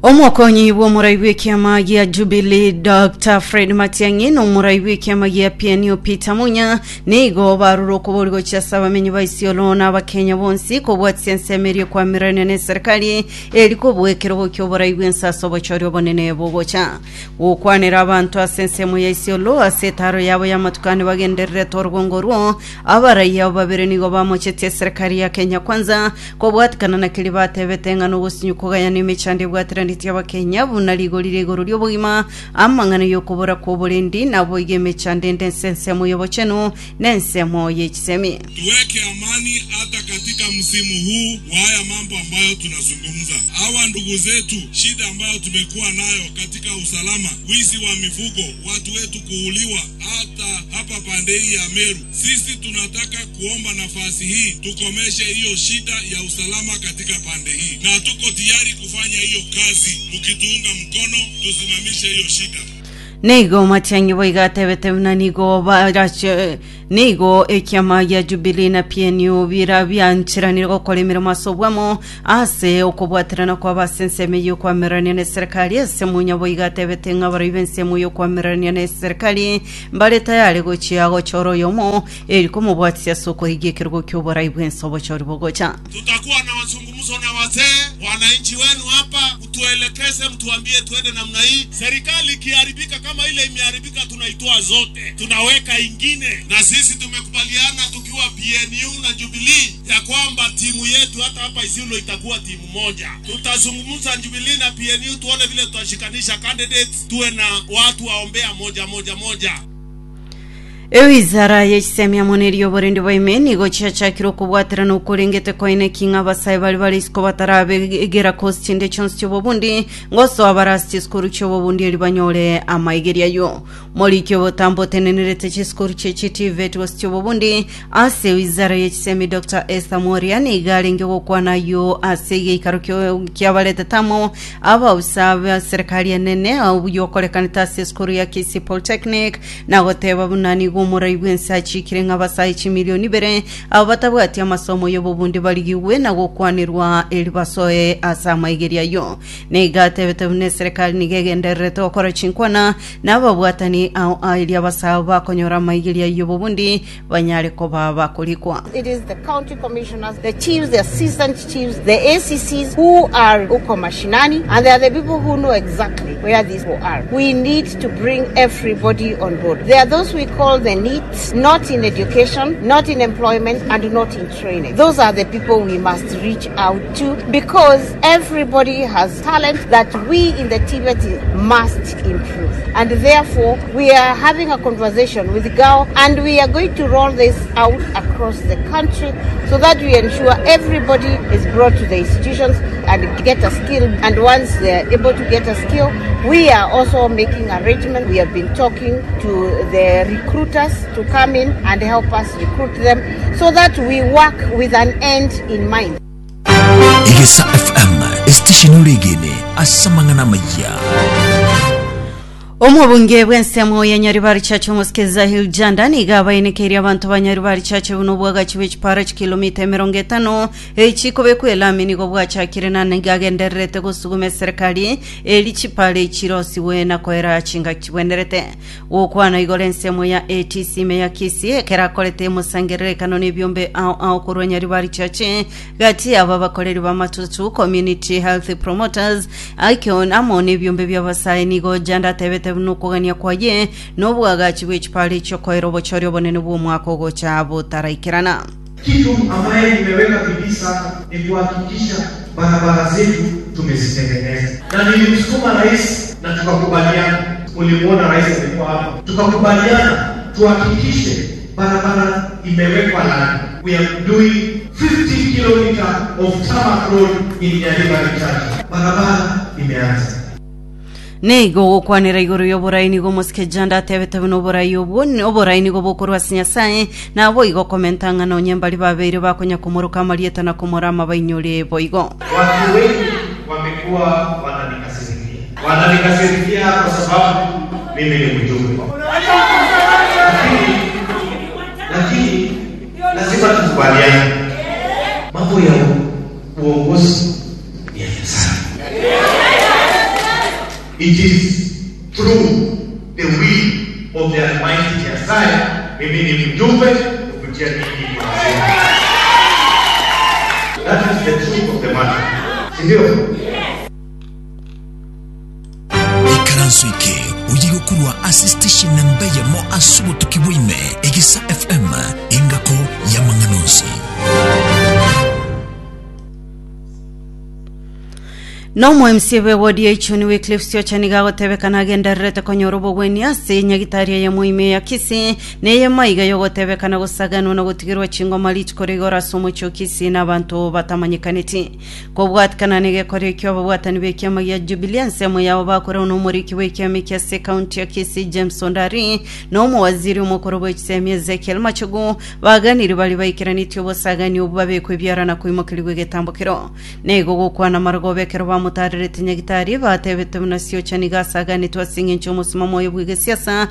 Omokonyi bw'omorai bw'ekiama gia Jubilee Dr. Fred Matiang'i na omorai bw'ekiama gia PNU Peter Munya nigo barure okobori gochia ase abamenyi ba Isiolo na Abakenya bonsi kobwatisia ensemo eria ekwamererania na eserikali eri kobua ekerogo ki'oborai bw'ense ase obochori obonene bogocha. Gokwanera abanto ase ensemo ya Isiolo ase etaaro yabo y'amatuko ane bagendererete orogongo orwo, abarai abo babere nigo bamochetie eserikali ya Kenya Kwanza Kobwatikana na keria batebete ng'a nogosinyu kogayana emechando ebwateranetie Abakenya buna rigori ria igoro ri'obogima, amang'ana y'okobora kw'oborendi, naboigo emechando ende ense ensemo y'obochenu na ensemo ye chisemi. Tuweke amani hata katika msimu huu wa haya mambo ambayo tunazungumza. Hawa ndugu zetu, shida ambayo tumekuwa nayo katika usalama, wizi wa mifugo, watu wetu kuuliwa hata hapa pande hii ya Meru. Sisi tunataka kuomba nafasi hii tukomeshe hiyo shida ya usalama katika pande hii, na tuko tayari kufanya hiyo kazi, mkituunga mkono tusimamishe hiyo shida. Nigo Matiang'i boigo atebete buna nigo barache nigo ekiama gia Jubilee na PNU bira biancheranire gokora emeremo ase obwamo ase okobwaterana kwabo ase ensemo eyio okwamererania na eserekari ase Munya boigo atebete ng'a abarai b'ensemo y'okwamererania na eserekari Mbare tayari gochia gochora oyomo, eri komobwatisia ase okorigia ekerogo ki'oborai bw'ense obochori bogocha. Tutakuwa na mazungumzo na wazee, wananchi wenu hapa, mtuelekeze, mtuambie tuende namna hii. Serikali ikiharibika kama ile imeharibika, tunaitoa zote, tunaweka ingine. Na sisi tumekubaliana tukiwa PNU na Jubilee ya kwamba timu yetu hata hapa Isiolo itakuwa timu moja. Tutazungumza Jubilee na PNU tuone vile tutashikanisha candidates, tuwe na watu waombea moja moja moja. Ewizara y'echisemi amo neria oborendi bwa ime nigo chiachakire okobwaterana okorengete koine ki ng'a abasae baria bare isiko batarabegera kosi chinde chionsi chi'obobundi ngosoa bare ase chisukuru chi'obobundi eri banyore amaigerio ayio. Moriki obotambe otenenerete chisukuru chie chiTVET gose chi'obobundi ase wizara y'echisemi Doctor Esther Mworia nigo arenge gokwana ayio ase egeikaro kiabaretete amo abaofisa ba serikali enene obuya okorekanete ase esukuru ya Kisii Polytechnic na goteba buna nigo omorai bw'ense achikire ng'a abasae chimilioni ibere abo batabwati amasomo y'obobundi barigigwe na gokwanerwa eri basoe ase amaigerio ayio. Nigo atebete buna eserekari nigo egendererete gokora chinkwana na ababwatani ao erio abasae bakonyora amaigerio ayio y'obobundi banyare koba bakorikwa. It is the county commissioners, the chiefs, the assistant chiefs, the ACCs who are huko mashinani and they are the people who know exactly where these people are. We need to bring everybody on board. There are those we call the NEETs, not in education, not in employment and not in training. Those are the people we must reach out to because everybody has talent that we in the TVET must improve. And therefore, we are having a conversation with GAO and we are going to roll this out across the country so that we ensure everybody is brought to the institutions and get a skill. And once they are able to get a skill, we are also making arrangements. We have been talking to the recruiters to come in and help us recruit them so that we work with an end in mind. Egesa FM, esitesheni oregene ase amang'ana amayia. Omobunge bw'ensemo ya Nyaribari Church omosike Zahil Janda nigo abaenekeirie abanto ba Nyaribari Church buna obwagachi bwe chipara chikilomita emerongo etano echikobekwa elami nigo bwachakire na nigo agendererete gosuguma eserekari eri chipara echirosigwe na koera chingaki chibwenerete gokwana igoro ensemo ya ATC ime ya Kisii ekero akorete emosangererekano na ebiombe ao ao korwa Nyaribari Church Gati y'abo abakoreri b'amatutu, Community Health Promoters, Icon amo nebiombe bi'abasae nigo Janda atebete buna okogania kwaye nobwagachi bwe chipara echiokoera obochori obonene bw'omwaka ogocha botaraikerana. Kitu ambaye nimeweka bidii sana ni kuhakikisha barabara zetu tumezitengeneza, na nilimsukuma rais na tukakubaliana. Ulimuona rais alikuwa hapa, tukakubaliana tuhakikishe barabara imewekwa lami. We are doing 50 kilometer of tarmac road in Nyaribari Chache. Barabara imeanza. Nigo ogokwanera igoro y'oborai nigo omosike Janda atebete buna oborai obwo oborai nigo bokorwa ase Nyasae, naboigo komenta ng'a nonye mbari babeire bakonya komoroka amarieta na komorama bainyore boigo. Watu wengi wamekuwa wananikasirikia, wananikasirikia kwa sababu mimi ni mjumbe, lakini lakini lazima tukubaliane, mambo ya uongozi ni ya Nyasaye. It is through the will of the Almighty Nyasaye, mimi ni mjumbe kupitia ninyi ni wazee. That is the truth of the matter. Si ndio? Ikaranso eke oye gokorwa ase station namba eyemo ase obotuki bwaime Egesa FM engako y'amang'ana onsi. Nomo MCA bwe ward ya Ichuni Wycliffe Siocha nigo agotebekana agendererete konyora obogwenia ase nyagitari eyemo ime ya Kisii na eyemo aiga yogotebekana gosaganwa na gotigerwa chingoma rituko ria igoro ase omochie o Kisii na abanto batamanyekaneti. Kobwatikana negekorio ekio ababwatani b'ekiama gia Jubilee ensemo yabo bakorwa nomoriki bw'ekiama ekia ase ekaunti ya Kisii James Ondari na omowaziri omokoro bw'echisemi Ezekiel Machogu baganire baria baikeranetie obosagani obwo babekwe ebiara na koimokerigwa egetambokero. Nigo gokwana marogoba ekero bamotaarerete nyagitari, batebete buna Siocha nigo asaganetwe ase engencho y'omosimamo oye bw'egesiasa.